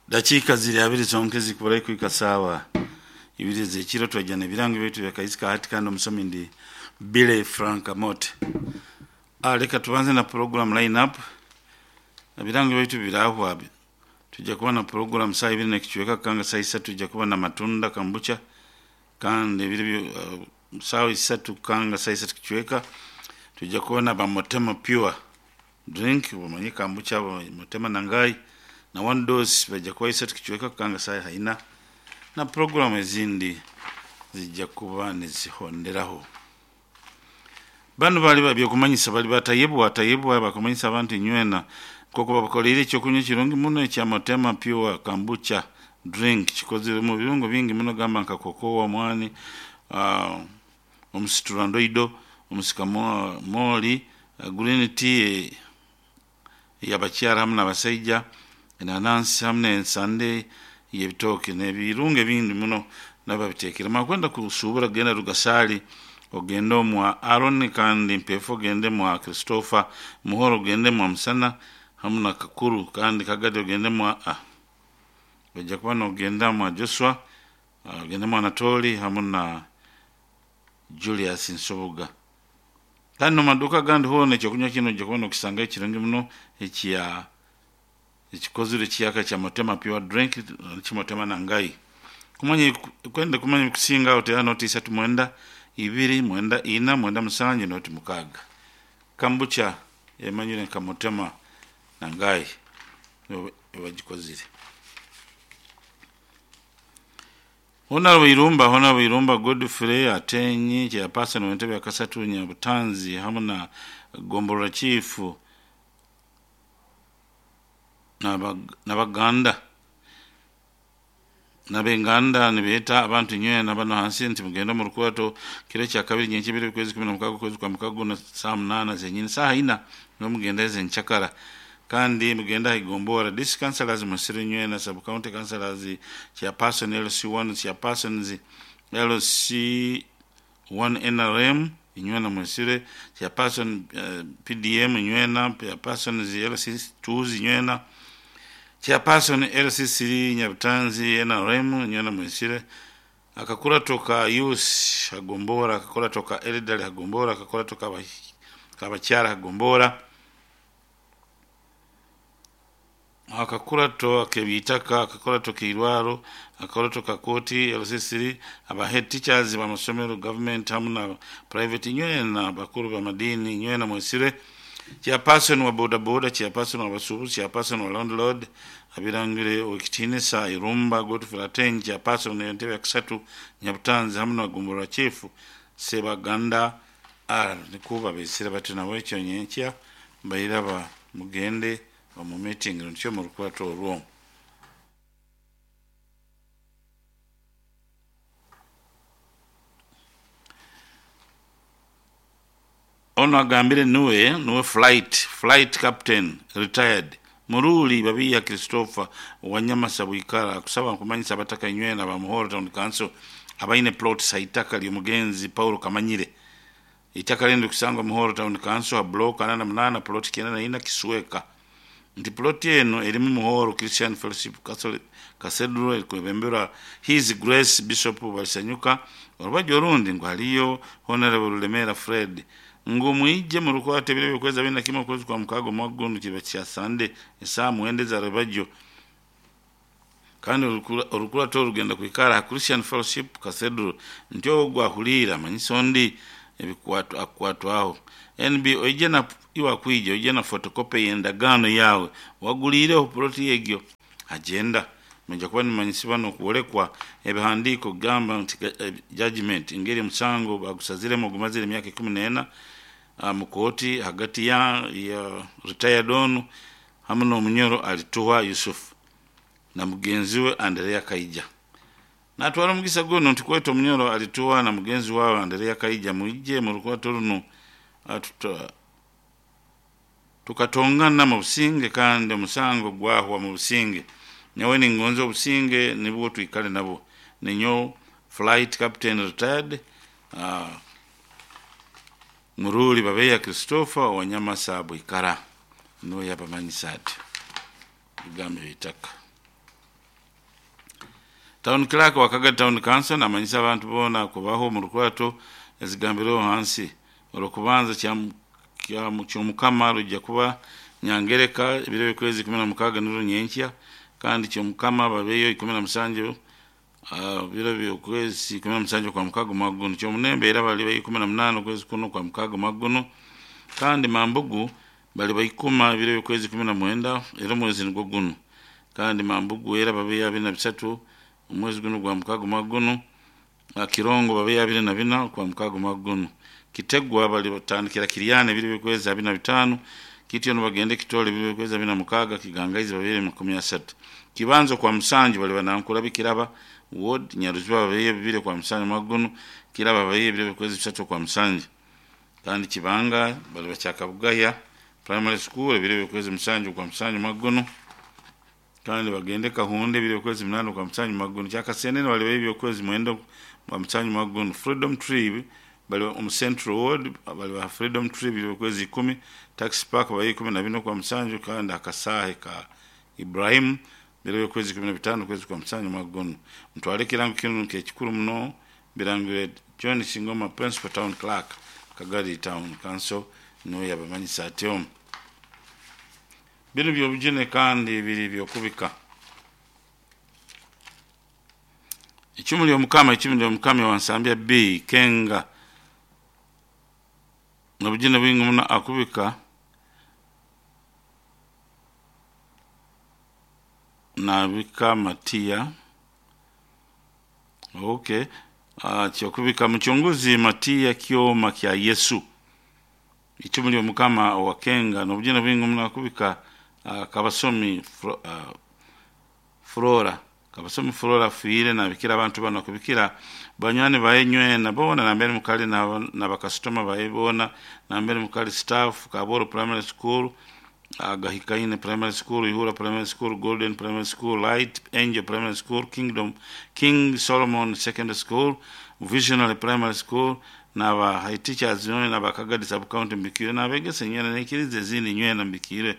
Dakiika ziri abiri zonka ezikuburayo kuhika saawa ibiri ez'ekiro twajja n'ebirango byaitu byakaisika hati kandi omusomi ndi Billy Frank Amote. Leka tubanze na program line up. Ebirango byaitu birahwa tujja kuba na program saa ibiri n'ekicweka kanga saa isatu tujja kuba na matunda kambucha kandi ebiri saawa isatu kanga saa isatu kicweka tujja kuba na bamotema pure drink bamanye kambucha motema nangai na one dose bajja kuba isatu kicweka kanga saa haina na program ezindi zijja kuba nizihonderaho. Bano bali babyokumanyisa bali batayebwa tayebwa bakumanyisa abantu inywena koko babakoleire ekyokunywa ekirungi muno ekya Motema Pure Kombucha drink kikozere mu birungo bingi muno gamba nka kokoa, mwani, omusiturandoido, omusikamooli, green tea eyabakyara hamu n'abasaija, enanansi hamu n'ensande y'ebitooke n'ebirungo ebindi muno nabo babiteekeremu. Akwenda kusuubura genda Rugasaali ogende omwa Aaron kandi Mpeefu ogende mwa Christopher, Muhoro ogende mwa Musana hamu na Kakuru kandi Kagadi ogende mwa ojja kuba n'ogenda mwa Joshua, ogende mwa Anatoli hamu na Julius Nsubuga. Kandi n'omu maduuka agandi hoona ekyokunywa kinu ojja kuba n'okisangayo ekirungi muno ekya ekikozere ekiyaka kya Motema Pure Drink kimotema nangai. Kumanya kwenda kumanya ebikusinga aho teera noti isatu mwenda ibiri mwenda ina mwenda musanju noti mukaaga. Kambucha emanyire nka Motema nangai nibo bagikozire. Honorable Irumba Godfrey Atenyi chairperson w'entebe ya Kasatu Nyabutanzi hamu na Gombolola Chief n'Abaganda n'abenganda nibeeta abantu inywena bano hansi nti mugende omu rukurato kiro kya kabiri nyenkya kwezi 16 okwezi kwa mukaga guno saaha munaana zenyini saaha ina niho mugenda ezenkyakara kandi mugende aha igombora district councillors musire inywena sub county councillors chairperson LC1 chairpersons LC1 NRM inywena mwesire chairperson PDM inywena chairpersons LC2 inywena chairperson LC3 Nyabutanzi NRM inywena mwesire akakurato ka youth hagombora akakurato ka elderly hagombora akakurato kabakyara hagombora akakurato ak'ebiitaka akakurato k'eirwaro akakurato ka kooti LC3 aba head teachers b'amasomero government hamu na private inywena bakuru b'amadiini inywena mwesire chairperson wa boda boda chairperson wa basuubuzi chairperson wa landlord abirangire owekitiinisa Irumba Godfrey Ateng chairperson entebe ya Kasatu Nyabutanzi hamu na Gombolola Chief Sebaganda R nikwo babeesire bati nabo ekyo nyenkya mbairaba mugende omu meeting nikyo murukurato orwo. Ono agambire nuwe flight captain retired Muruli Babiya Christopher Wanyamasa Bwikara akusaba nkumanyisa abataka inywena ba Muhoro Town Council abaine plots haitaka ly'omugenzi Paulo Kamanyire. Itaka lindi kusangwa Muhoro Town Council ha block 88 plot 94 Kisweka. Nti plot eno erimu Muhoro Christian Fellowship Cathedral erikwebemberwa His Grace Bishop Balisanyuka orubaju orundi ngu haliyo Honorable Rulemera Fred ngu mwije murukwate ebiro by'okwezi abiri na kimwe okwezi kwa mukaaga omwaka guno kiba kya Sande esaaha mwenda eza rubajyo kandi orukurato orugenda kwikara ha Christian Fellowship Cathedral nti ogwo ahuliire amanyisa ondi ebikwato akukwatwaho NB oije na iwe akwija oije na photocopy y'endagaano yaawe waguliireho ploti egyo agenda mwija kuba nimumanyisibwa n'okwolekwa ebihandiiko kugamba nti judgment engeri omusango bagusaziremu ogumazire emyaka 14 mu kooti hagati ya retired onu hamu n'omunyoro Alituha Yusuf na mugenzi we Anderea Kaija. Natwara omugisa guno nti kweta omunyoro Alituha na mugenzi wawe Anderea Kaija mwije mu rukwato runo tukatongana mu businge kandi omusango gwahwa mu businge. Nyowe ningonza obusinge nibwo twikale nabo. Ninyo flight captain retired Muruli Babeya Christopher Wanyamasa Bwikara nuwe yabamanyisa ati bigambo ebitaka. Town clerk wa Kagadi Town Council namanyisa abantu boona kubaho omu rukurato ezigambireho hansi. Orw'okubanza Kyomukama rujja kuba Nyangereka ebiro by'okwezi 16 nirwo nyenkya, kandi Kyomukama babeyo 17 biro by'okwezi 17 kwa mukaga omwaka guno. Kyomunembe era baliba 18 okwezi kuno kwa mukaga omwaka guno, kandi Mambugu baliba ikuma ebiro by'okwezi 19 era omwezi nigwo guno, kandi Mambugu era babeyo 23 omwezi guno gwa mukaga omwaka guno. Kirongo babeyo 24 kwa mukaga omwaka guno. Kitegwa balitandikira Kiryana ebiro by'okwezi 25, kityo nibagenda Kitole ebiro by'okwezi 26, Kigangaizi babeere 30. Kibanza kwa Musanju baliba Nankura Bikiraba ward, Nyaruziba babeyo 2 kwa Musanju omwaka guno, Kiraba babeyo ebiro by'okwezi 3 kwa Musanju. Kandi Kibanga baliba Kyakabugaya Primary School ebiro by'okwezi 7 kwa Musanju omwaka guno, kandi bagende Kahunde ebiro by'okwezi 8 kwa Musanju omwaka guno. Kyakasenene baliba eby'okwezi 9 kwa Musanju omwaka guno. Freedom Tree bali omu Central Ward baliba Freedom Tree ebiro by'okwezi 10, Taxi Park babeyo 14 kwa Musanju, kandi akasaahe ka Ibrahim biro by'okwezi 15 okwezi kwa Musanju omwaka guno. Mutwale ekirango kinu nk'ekikuru muno birangire John Singoma, Principal Town Clerk, Kagadi Town Council, niwe yabamanyisa atyo. Binu by'obujune kandi biri by'okubika. Icumu ly'Omukama, icumu ly'Omukama wansambya B Kenga n'obujune bwingi muno akubika nabika Matiya. Okay. Kyokubika muchunguzi Matiya kyoma kya Yesu. Icumu ly'Omukama owa Kenga n'obujune bwingi muno akubika Kabasomi Flora. Kabasomi Flora afiire nabikira abantu bano akubikira banywani baye nywena boona nambere mukali na bakasitoma baye boona nambere mukali staff Kaboro Primary School, Gahikaine Primary School, Ihura Primary School, Golden Primary School, Light Angel Primary School, Kingdom King Solomon Secondary School, Visionary Primary School, n'aba high teachers nywena n'aba Kagadi Sub County mbikire n'abegesa nywena n'enkiriza ezindi nywena mbikire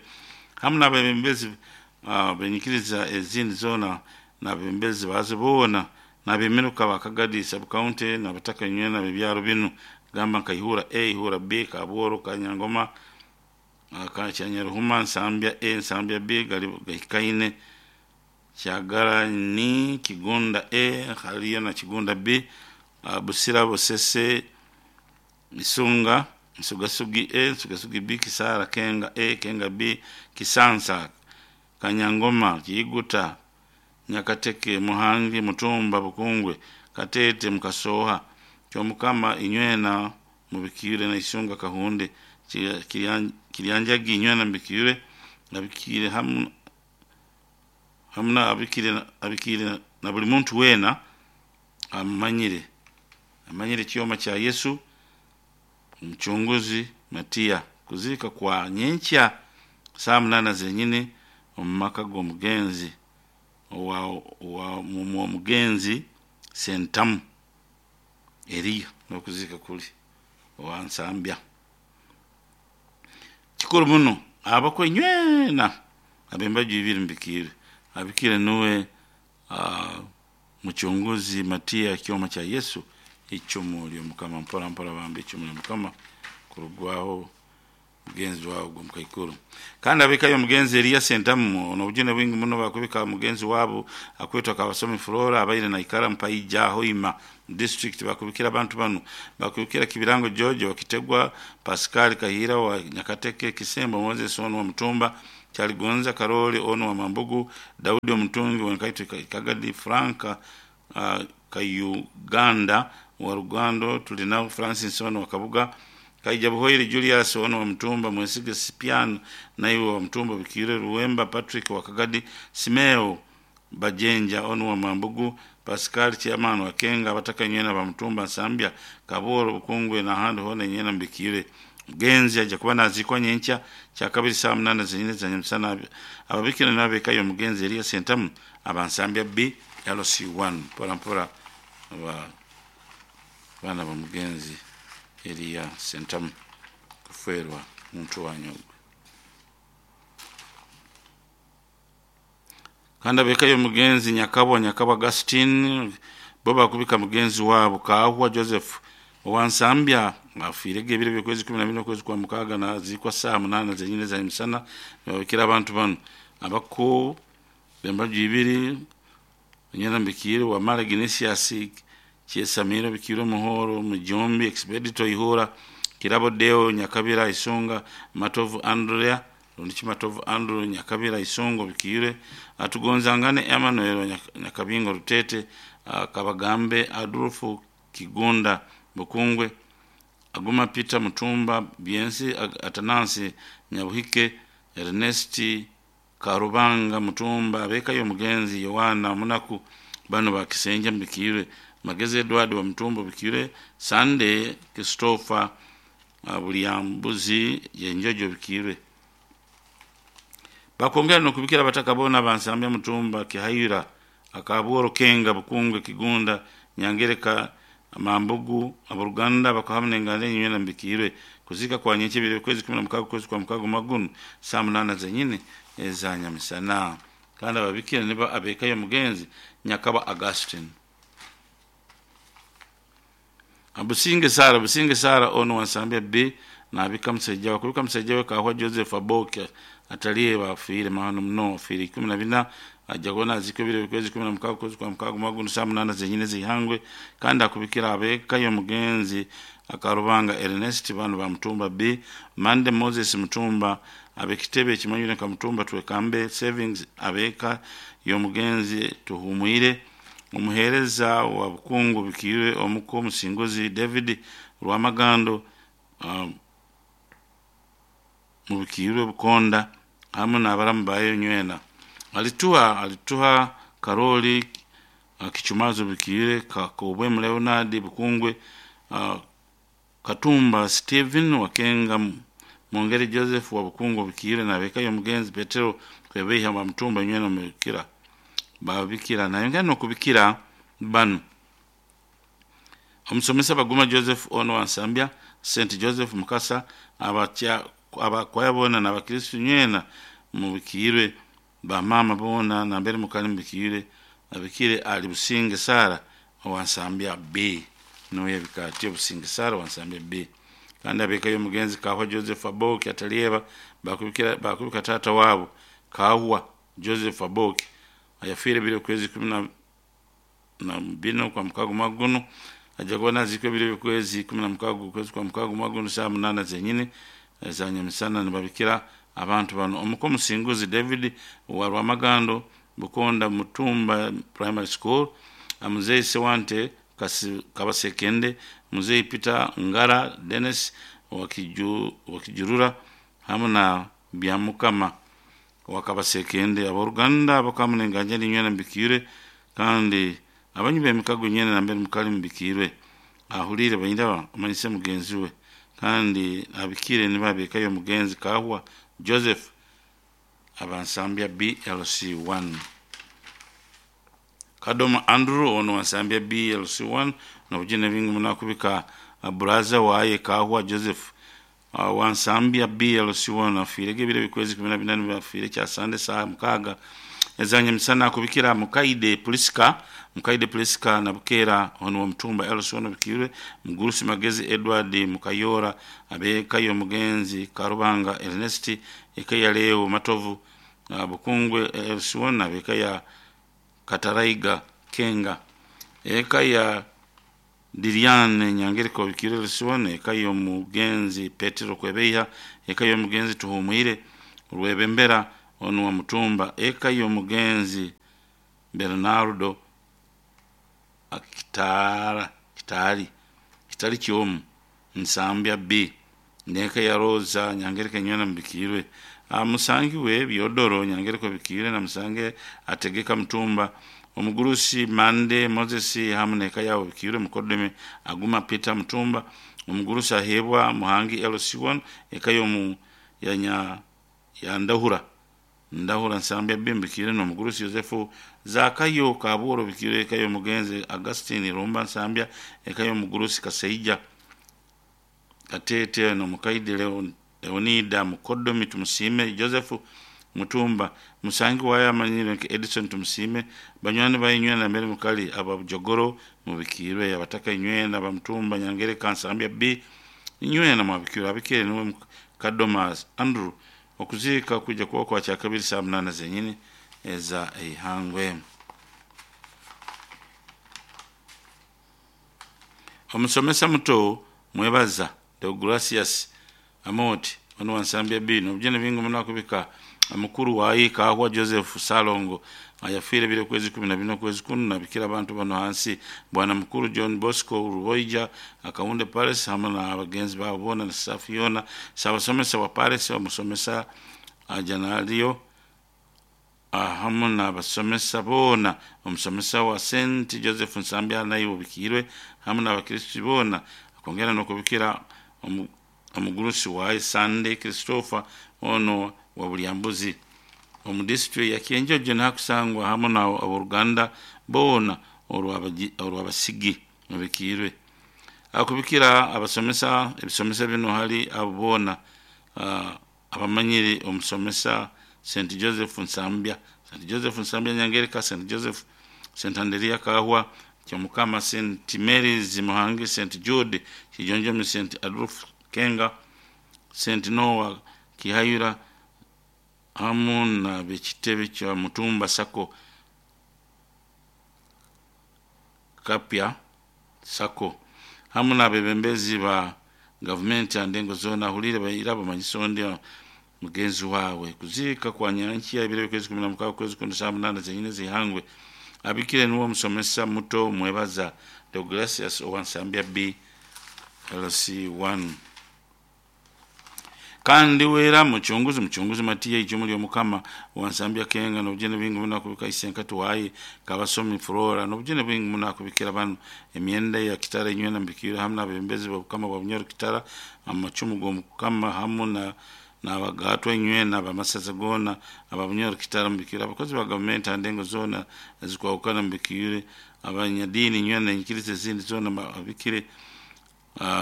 hamu n'abebembezi benyikiriza ezindi zoona n'abebembezi bazo boona n'abemiruka ba Kagadi Sub County n'abataka nywena b'ebyaro binu gamba nka Ihura A, Ihura B, Kabworo, Kanyangoma, Kyanyaruhuma, Nsambya A, Nsambya B, Gahikaine, Kyagara ni Kigunda A, hariyo na Kigunda B, Busira, Busese, Isunga, Nsugasugi A, Nsugasugi B, Kisara, Kenga A, Kenga B, Kisansa, Kanyangoma, Kiiguta, Nyakateke, Muhangi, Mutumba, Bukungwe, Katete, Mukasoha, Kyomukama, Inywena, Mubikire na Isunga Kahunde, Kiryanjagi, Inywena, Mbikire, abikire hamu na abikire na buli muntu weena amanyire kyoma kya Yesu omucunguzi Matiya. Kuziika kwa nyenkya saa 8 zenyini omu maka g'omugenzi omugenzi Sentamu Eriya n'okuziika kuli owa Nsambya. Kikuru muno abakwe nywena ab'embaju ibiri mbikire abikire nuwe muchunguzi Matiya kyoma kya Yesu icumu ly'Omukama. Mpora mpora bambi icumu ly'Omukama kurugwaho mugenzi wawe gwo mukaikuru. Kandi abikayo omugenzi Eriya Sentamu n'obujune bwingi muno bakubika mugenzi wabo akwetwa Kabasomi Flora abaire naikara Mpaija Hoima district. Bakubikira abantu bano bakubikira Kibirango George wa Kitegwa, Pascal Kahira wa Nyakateke, Kisembo Moses ono wa Mutumba, Kyaligonza Karoli ono wa Mambugu, Daudi Omutungi wa Nkaito Kagadi, Franka Kayuganda wa Rugando, tulinao Francis ono wa Kabuga, Kaija Buhoire Julius ono wa Mtumba, Mwesige Sipian naiwe wa Mtumba, Bikire Ruwemba Patrick wa Kagadi, Simeo Bajenja ono wa Mambugu, Pascal Chairman wa Kenga, abataka nywena ba Mtumba, Nsambya, Kaboro, Bukungwe na handi hona nywena mbikire. Mugenzi aja kuba nazikwa nyenkya kya kabiri saa 8 zenyine za nyamusana. Ababikira n'abekayo omugenzi Eriya Sentamu abansambya B LC1. Mpora mpora baana ba mugenzi Eriya Sentamu kufeerwa muntu wanyu. Kandi ab'eka y'omugenzi Nyakabwa Nyakabwa Augustine bo bakubika mugenzi wabo Kahwa Joseph owansambya afiirege ebiro by'okwezi 14 okwezi kwa mukaaga naziikwa saaha 8 zenyini za misana. Nibabikira abantu banu abako b'embaju ibiri nyena mbikire Wamala Ignatius Kyesamiro Bikire Muhoro Mujombi Expedito Ihura Kirabo Deo Nyakabira Isonga Matovu Andrea Rundiki Matovu Andrew Nyakabira Isongo Bikire Atugonzangane Emmanuel Nyakabingo Rutete Kabagambe Adolfo Kigunda Bukungwe Aguma Peter Mutumba Byensi Atanasi Nyabuhike Ernest Karubanga Mutumba abekayo mugenzi Yohana Munaku bano bakisenja mbikire Magezi Edward wa Mutumba bikire Sunday Christopher Bulyambuzi yenjojo bikire bakongera nokubikira abataka bona bansambya Mutumba Kihayira Akabworo Kenga Bukungwe Kigunda Nyangereka Mambugu aboruganda bakahamwe ngande nywena mbikirwe kuzika kwa nyenche bile kwezi 16 kwezi kwa mukago magunu saa 8 zenyine za nyamisana. Kandi ababikira niba abekayo mugenzi Nyakaba Augustine Abusinge Sara Businge Sara ono wansambya B nabika musajja wakubika musajja we Kahwa Joseph Aboke ataliye bafiire mahano muno afiire 14 ajja kubona aziko bire kwezi 16 kwezi kwa mukago magunu saa 8 zenyine zihangwe. Kandi akubikira abekayo mugenzi Akarubanga Ernest bano ba Mutumba B Mande Moses Mutumba abekitebe kimanyire ka Mutumba twekambe savings abeka yo mugenzi Tuhumwire umuhereza wa Bukungu bikire omuko Musinguzi David Rwamagando mubikirwe Bukonda hamwe n'abaramu bayo nywena alituha Karoli Kichumazo bikire Kakobwe Leonard Bukungwe Katumba Stephen Wakenga Mwongere Joseph wa Bukungu bikire na bekayo mugenzi Petero Kwebeha wa Mutumba nywena mubikira babikira nayo ngano kubikira bano omusomesa Baguma Joseph ono wansambya St Joseph Mukasa abacha abakwaya bona n'abakristo nywena mubikirwe bamama bona nambere mukali mubikirwe abikire ali Businge Sara wansambya B noye bikati Businge Sara wansambya B. Kandi abekayo mugenzi Kahwa Joseph Aboki atalieba bakubika tata wabo Kahwa Joseph Aboki ayafire bile kwezi 14 kwa mukago maguno ajja kubona ziko bile kwezi 16 kwezi kwa mukago maguno saa 8 zenyine za nyamisana nibabikira abantu bano omuko Musinguzi David wa Rwamagando Bukonda Mutumba Primary School Muzei Sewante Kabasekende Muzei Peter Ngara Dennis Wakijurura hamwe na Byamukama wakabasekende aboruganda bakamunenganja ninywena mbikire. Kandi abanyu b'emikago nyene nambere mukali mbikirwe ahulire bayindaba omanyise mugenzi we. Kandi abikire nibabekayo mugenzi Kahwa Joseph abansambya BLC1 Kadoma Andrew ono wansambya BLC1 nobujine bingi munakubika buraza waye Kahwa Joseph wansambya BLC1 afirege bile bikwezi 14 bafire kya sande saa mukaga ezanye misana kubikira Mukaide Priska na Bukera ono wa Mutumba LC1 bikirwe Mugurusi Magezi Edward Mukayora abekayo mugenzi Karubanga Ernest ekaya leo Matovu Bukungwe LC1 abekaya Kataraiga Kenga ekaya Diriane Nyangereko bikirwe LC1 ekayo mugenzi Petero Kwebeya ekayo mugenzi Tuhumwire Rwebembera ono wa Mutumba ekayo mugenzi Bernardo Kitali Kyomu Nsambya B neka ya Rosa Nyangereko nywena mbikirwe Musangi we Byodoro Nyangereko bikirwe na Musange ategeka Mutumba omugurusi Mande Moses hamwe neka yawo bikirwe Mukodeme Aguma Peter Mutumba omugurusi ahebwa Muhangi LC1 ekayo mu yanya ya Ndahura Nsambya B mbikire no mugurusi Yosefu Zakayo Kaburo bikire ekayo mugenzi Augustine Rumba Nsambya ekayo mugurusi Kaseija Katete no Mukaide Leonida Mukodomi Tumusime Joseph Mutumba musangi wayo amanyire nka Edison Tumusiime, banywani bainywena mbere mukali aba Bujogoro mubikirwe, abataka inywena ba Mutumba Nyangereka Nsambya B inywena mwabikirwe. Abikire niwe Kadomas Andrew. Okuziika kuja kuba kwa kyakabiri saa 8 zenyini eza eihangwe. Omusomesa muto Mwebaza Deogratius Amoti ono wa Nsambya B nobujene bingi muno akubika mukuru wayi Kahwa Joseph Salongo ayafiire bire kwezi 14 kwezi kunu nabikira abantu bano hansi bwana mukuru John Bosco Ruboija Akawunde Palace hamwe na bagenzi babo bona na staff yona, sabasomesa wa Palace, omusomesa Janalio hamwe n'abasomesa boona, omusomesa wa St Joseph Nsambya naye obikirwe hamwe n'abakristu boona, akongera n'okubikira omugurusi wa Sunday Christopher ono wa Bulyambuzi omu district ya Kyenjojo nakusangwa hamwe na abooruganda boona orw'abasigi mubikirwe. Akubikira abasomesa ebisomesa bino hali abo boona abamanyire omusomesa St Joseph Nsambya, St Joseph Nsambya Nyangereka, St Joseph St Anderia Kahwa, Kyomukama, St Mary's Muhangi, St Jude Kijonjomi, St Adolf Kenga, St Noah Kihayura hamu na bekitebe kya Mutumba Sako Kapya Sako hamu n'abebembezi ba gavumenti ya ndengo zona ahulire baira bamanyiso ndi mugenzi wawe. Kuziika kwa nyankiya ebiro by'okwezi 16 kwezi kuno saa 8 zenyine zihangwe. Abikire niwe omusomesa muto Mwebaza Deogratius owa Nsambya B LC1. Kandi wera muchunguzi Matiya ijumu ly'omukama wa Nsambya Kenga nobujene bwingi muno akubika isenkati waye kabasomi Flora nobujene bwingi muno akubikira bano emyenda ya kitara inywena mbikira hamwe n'abebembezi b'obukama bwa Bunyoro Kitara amacumu g'omukama hamwe na n'abagatwa inywena abamasaza gona ababunyoro Kitara mubikire, abakozi ba gavumenti andengo zona ezikwahukana mubikire, abanyadini inywena enyikiriza ezindi zona abikire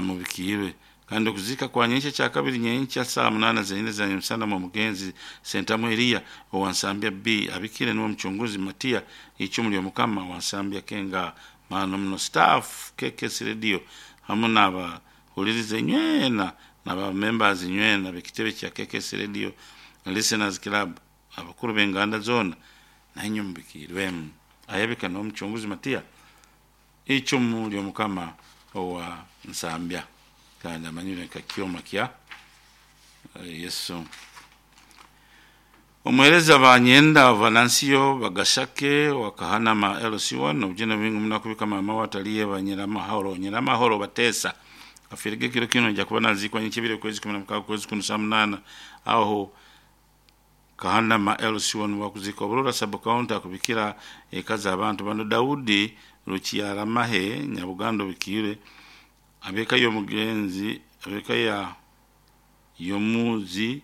mubikirwe. Kandi okuzika kwa nyenkya kyakabiri nyenkya saa 8 zenyine za nyamusana mu mugenzi Sentamu Eliya owa Nsambya B abikire niwe muchunguzi Matiya icumu ly'omukama wa Nsambya Kenga mano muno staff KKS Radio hamwe n'abahuliriza inywena n'aba members inywena b'ekitebe kya KKS Radio Listeners Club, abakuru b'enganda zona nainywe mubikirwemu. Ayabika n'omuchunguzi Matiya icumu ly'omukama owa Nsambya kandi amanyire nka kyoma kya Yesu. Omuhereza banyenda Valansiyo Bagashake wakahanama LC1 obujene bwingi muno akubika mama wataliye banyiramahoro nyiramahoro batesa afirige kiro kino nja kuba nazikwa nyikibire kwezi 16 kwezi kuno saa 8 aho kahanama LC1 wakuzika Oburora sub county akubikira ekaza abantu bano Daudi Rukiaramahe Nyabugando bikire abeka y'omugenzi abeka ya yomuzi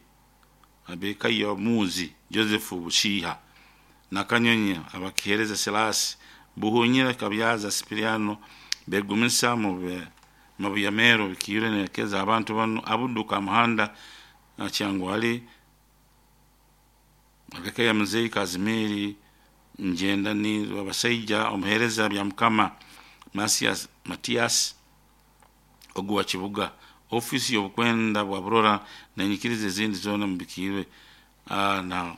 abeka yomuzi Joseph Bushiha Nakanyonyi abakihereza Selasi Buhunyira Kabyaza Sipiriano begumisa mu buyamero bikire nekeza abantu bano abuduka muhanda Kyangwali abeka ya muzei Kazimiri njenda ni abasaija omuhereza bya mukama Matias oguwa Kibuga ofisi y'obukwenda bwa Burora nenyikiriza ezindi zona mubikirwe na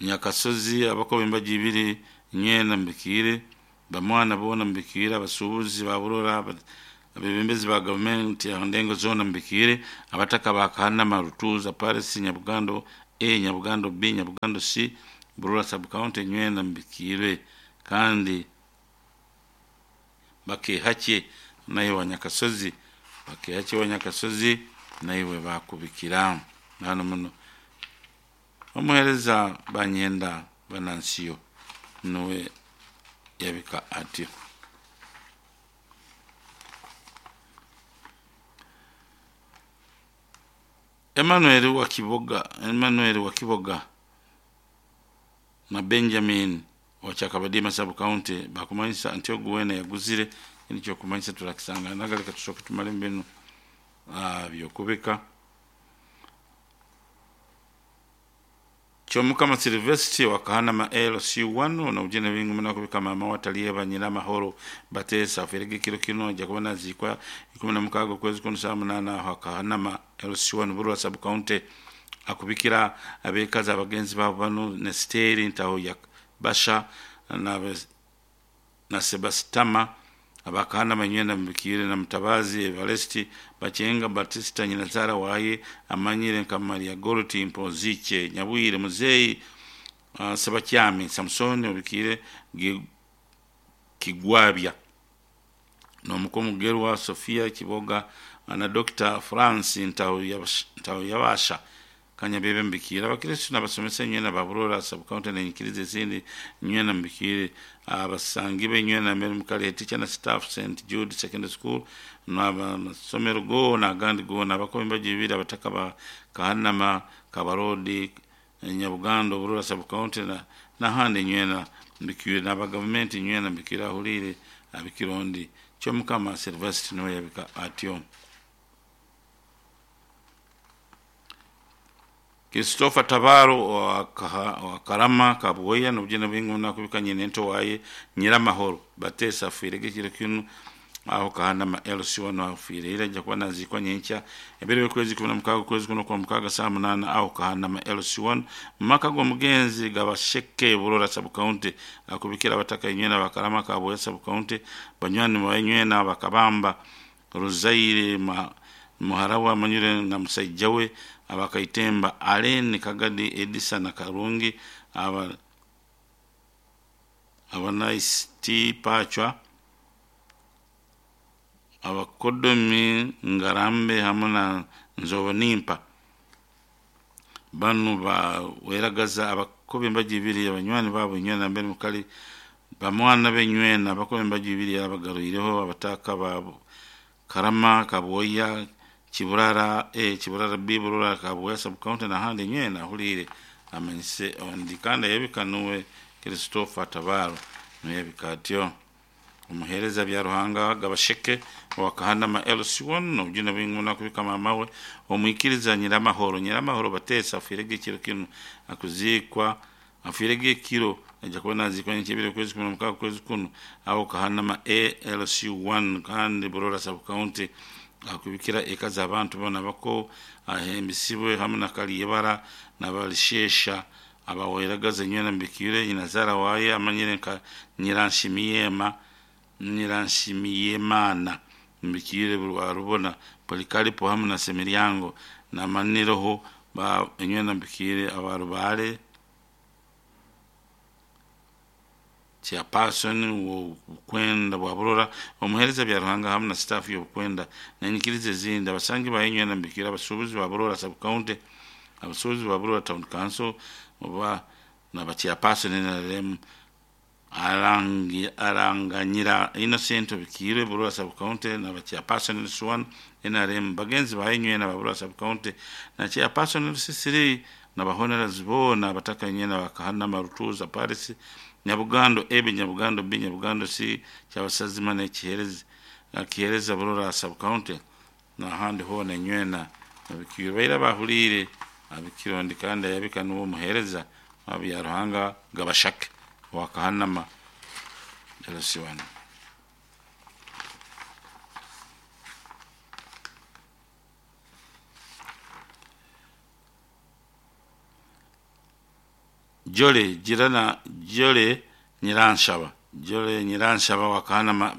Nyakasozi abakoba embaji ibiri nywena mubikire bamwana bona mubikire abasuubuzi ba Burora abebembezi ba gavumenti ndengo zona mubikire abataka ba Kahanama Rutuza Paris Nyabugando A Nyabugando B Nyabugando C Burora sub county nywena mubikire kandi bakehake naye wa Nyakasozi bakehake wa Nyakasozi naiwe bakubikira nano muno omuhereza banyenda banansiyo nuwe yabika atyo. Emmanuel wa Kiboga na Benjamin wa Kyakabadima sub county bakumanyisa Antioch wena yaguzire nicyo kumanyisa turakisanga nagaleka tushoke tumale mbinu byokubika. Kyomukama Silvesti wa Kahanama LC1 nobujene bingi muno kubika mama wataliye Nyiramahoro Batesa aferege kiro kino ajja kuba nazikwa 16 okwezi kuno saa 8 aho Kahanama LC1 Burwa sub county. Akubikira abekazi abagenzi babo bano Nesteri Ntaho ya Basha na Sebastama abakahana manywena mbikire na Mutabazi Evaresti Bachenga Batista Nyinazara waye amanyire nka Maria Goroti Mpoziche Nyabwire Muzeyi Sebakyami Samsoni obikire Kigwabya n'omukomugerwa Sofia Kiboga na Dr. France Ntaho Yabasha Kanyabebe mbikire abakristo n'abasomesa nywena baburora sub county nenyikiriza ezindi nywena mbikire abasangi benywena mbere mukale teacher na staff St Jude Secondary School n'amasomero gona agandi gona abakombe bajibira abataka ba Kahanama Kabarodi Nyabugando Burora sub county na nahandi nywena mbikire n'abagavumenti nywena mbikire ahulire abikirondi Kyomukama Silvester niwe yabika atyo. Christopher Tabaro wa Karama Kabuya nobujene bwingi nakubika nyine nto waye Nyiramahoro Batesa afirege kiro kino aho Kahanama LC1 afire ira ajja kuba nazikwa nyenkya ebere kwezi 16 kwezi kuno kwa mukaga saa 8 aho Kahanama LC1 maka g'omugenzi Gabasheke Burora sub county akubikira abataka inywena bakarama Kabuya sub county banywani banywena bakabamba Ruzaire muharawa amanyire na musajja we abakaitemba Aleni Kagadi Edisa na Karungi aba abanaist Pachwa abakodomi Ngarambe hamwe na Nzobonimpa bano baweragaza abakobe mbajibiri abanywani babo nywena mbere mukali bamwana benywena abakobe mbajibiri abagaruireho abataka babo Karama Kabuya Kiburara A Kiburara B Burora Kabuya sub county na handi nywena hulire amanyise ondi kandi yebikanuwe Christopher Tabaro nuyebika atyo. Omuhereza bya Ruhanga Gabasheke wa Kahanama LC1 nobujune bwingi nakubika mama we omwikiriza Nyiramahoro Nyiramahoro Batesa afirege kiro kino akuzikwa afirege kiro ajja kuba nazikwa nkyebire kwezi 16 kwezi kuno aho Kahanama ALC1 kandi Burora sub county akubikira eka z'abantu bona bako ahembisibwe hamwe na Kaliyebara n'abalishesha abaweragaza nywena mbikire Nyinazara waye amanyire nka Nyiranshimiyema Nyiranshimiyemana mbikire rubona Polikaripo hamwe na Semiryango na Maniroho ba nywena mbikire abarubale chairperson wobukwenda bwa Burora omuhereza bya Ruhanga hamwe na staff y'obukwenda nenyikiriza ezindi abasangi bayenywena mbikira abasuubuzi ba Burora sub county abasuubuzi ba Burora town council oba na chairperson NRM aranganyira Innocent Bikire Burora sub county na chairperson Swan NRM bagenzi bayenywena ba Burora sub county na chairperson Sisiri na bahonerazi bona abataka nywena bakahana marutuza Paris Nyabugando A Nyabugando B Nyabugando C kyabasazima n'ekihereza kihereza Burora sub county n'ahandi hona nywena abikiro baira bahulire abikirondi kandi yabika n'uwo muhereza abya Ruhanga Gabashake wa Kahanama LC1. Jole jirana Jole Nyiranshaba Jole Nyiranshaba wa Kahanama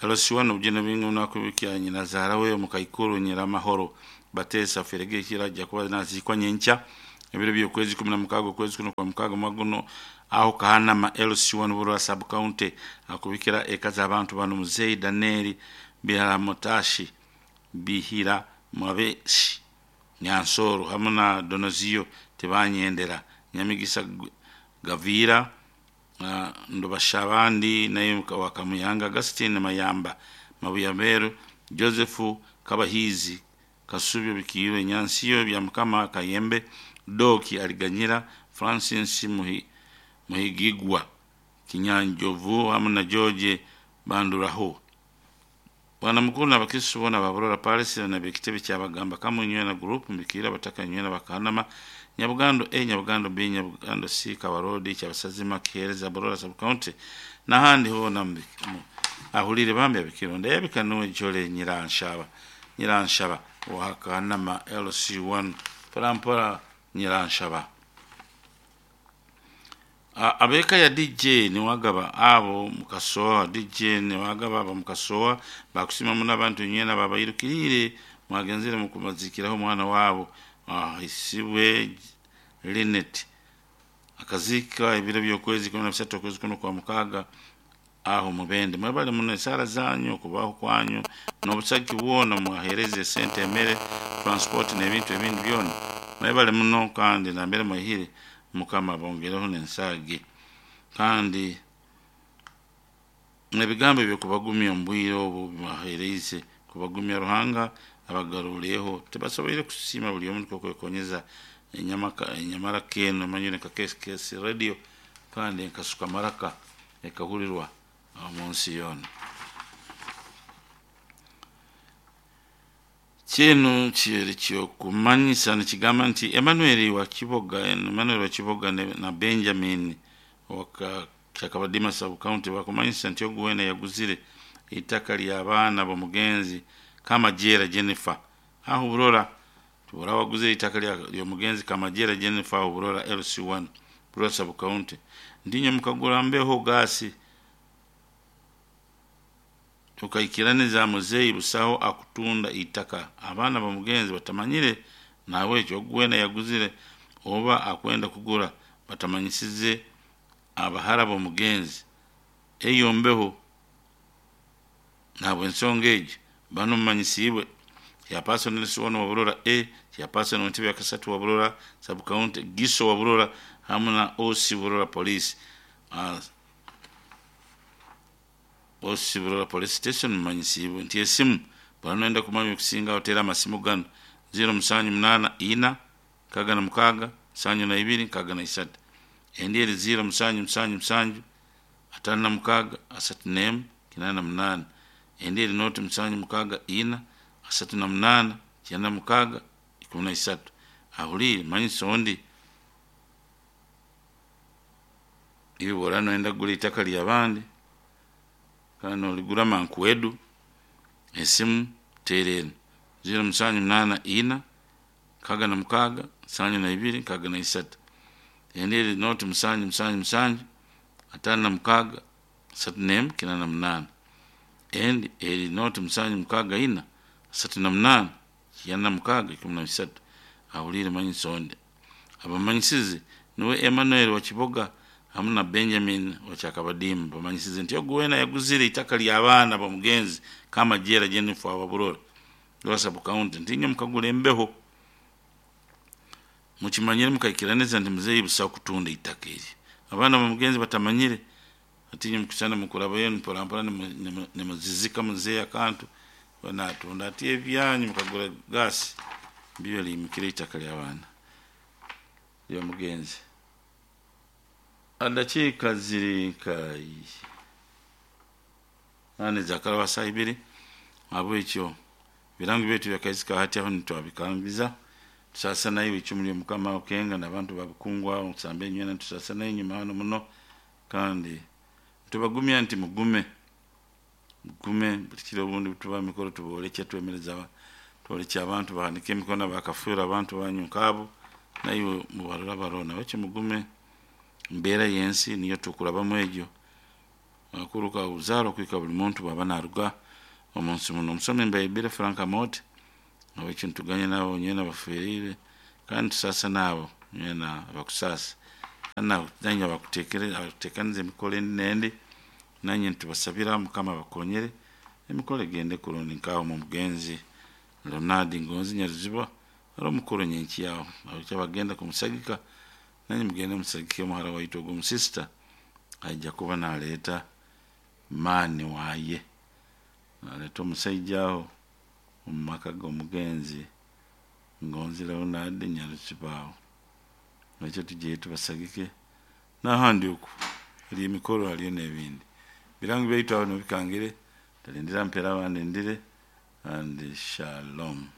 LC1 obujene bwingi nakubikia Nyinazara we mukaikuru Nyiramahoro Batesa ferege kirajja kuba nazikwa nyenkya ebiro by'okwezi 16 kwezi kuno kwa mukaga maguno aho Kahanama LC1 Burora sub county akubikira eka z'abantu bano Muzeyi Daniel Biharamotashi Bihira Mwabeshi Nyansoro hamwe na Donozio Tebanyendera Nyamigisa Gavira Ndobashabandi naye Wakamuyanga Augustine Mayamba Mabuyameru Joseph Kabahizi Kasubyo Bikiro Nyansiyo bya Mukama Kayembe Doki Aliganyira Francis Muhigigwa Kinyanjovu hamwe na George Banduraho. Bwana mukuru n'abakristo bona ba Burora Palace na bekitebe kyabagamba kamunywe na group mbikira bataka nywena bakahanama Nyabugando A, Nyabugando B, Nyabugando C, Kabarodi, Kyabasazima, Kihereza, Burora Sub County n'ahandi hoona ahulire bambi abikironda yabika nuwe Jole Nyiranshaba Nyiranshaba wa Kanama LC1 mpora Nyiranshaba. Abeka ya DJ niwagaba abo mukasoa DJ niwagaba abo mukasoa bakusima muno abantu nyena babayirukirire mwagenzere mukumazikiraho omwana wabo ahisibwe Linet akazika ebiro by'okwezi 13 okwezi kuno kwa mukaaga aho mubende. Mwebale muno esara zanyu okubaho kwanyu n'obusagi bwona mwahereze esente emere transport n'ebintu ebindi byona. Mwebale muno kandi nambere mwihire Mukama bongereho n'ensagi kandi ebigambo ebyokubagumya omu bwire obu bibahereize kubagumya Ruhanga abagarureho tibasoboire kusiima buli omu nikwo kwekonyeza enyamaraka eno emanyire nka KKS radio kandi enkasuka maraka ekahurirwa omu nsi yoona. Kinu kiri kyokumanyisa nikigamba nti Emmanuel wa Kiboga Emmanuel wa Kiboga na Benjamin wa Kyakabadima Sub County bakumanyisa nti ogu wena yaguzire itaka ly'abaana b'omugenzi Kamajera Jennifer aho Burora tubura waguze itaka ly'omugenzi Kamajera Jennifer aho Burora LC1 Burora Sub County ndinye mukagura mbeho gasi tukaikiraniza muzeyi busaho akutunda itaka abaana bamugenzi batamanyire nawe ekyo ogwena yaguzire oba akwenda kugura batamanyisize abahara b'omugenzi eyo mbeho nabwe ensonga egyo bano mumanyisiibwe chairperson LC1 wa Burora A, chairperson wa ntebe ya kasatu wa Burora Sub County, Giso wa Burora hamu na OC Burora Police OC Burora Police Station mumanyisiibwe nti esimu bwana kumanya okusinga otera amasimu gano 0784 66 72 63 endi eri 0777 56 31 88 endi eri noti 764 38 96 13 ahulire manyisa ondi iwe bwora noyenda kugura itaka ly'abandi kandi oligura mankwedu esimu teera enu 0784 66 72 63 endi eri noti 777 56 31 88 endi eri noti 764 38 96 13 ahulire manyisa ondi abamanyisize niwe Emmanuel wa Kiboga hamu na Benjamin wa Kyakabadimu bamanyisize nti ogu wena yaguzire itaka ly'abaana b'omugenzi Kamajera Jennifer wa Burora Burora Sub County nti mukagura embeho mukimanyire mukaikiraniza nti muzeeyi busaho kutunda itaka eri abaana b'omugenzi batamanyire ati mukusana mukurabayo mpora mpora nimuzizika muzeeyi akantu banatunda ati ebyanyu mukagura gasi bibe liyimukire itaka ly'abaana ly'omugenzi. Adakiika ziri nka nane zakaraba saa ibiri habwekyo birango byaitu byakaizika hati aho nitwabikambiza tusasa naiwe icumu ly'omukama okenga n'abantu babukungwa okusamba enywena tusasa nayo enyuma hano muno kandi tubagumya nti mugume mugume buli kiro obundi tuba mikoro tuboolekya twemereza twolekya abantu bahanike emikono bakafuura abantu banyu nkaabo naiwe mubarora barona bakyo mugume mbeera y'ensi niyo tukurabamu egyo akuruka uzaaro kwika buli muntu bwaba naruga omunsi muno. Omusomi mbaibire Frank Amot awekyo ntuganye nabo nyena baferire kandi tusasa nabo nyena abakusasa kandi nanye abakutekaniza emikoro endi nendi nanye ntubasabira Mukama abakonyere emikoro egende kurungi nkaho mu mugenzi Leonard Ngonzi Nyaruziba ari omukuru nyenki yaho abakya bagenda kumusagika nanye mugende musagike omuhara waitu ogwo omusisita aija kuba naleeta maani waye naleeta omusaija aho omu maka g'omugenzi Ngonzi Leonard Nyaruziba aho ekyo tugiye tubasagike n'ahandi oku hariyo emikoro hariyo n'ebindi birango byaitu aho nibikangire talindira mpera abandi ndire and shalom.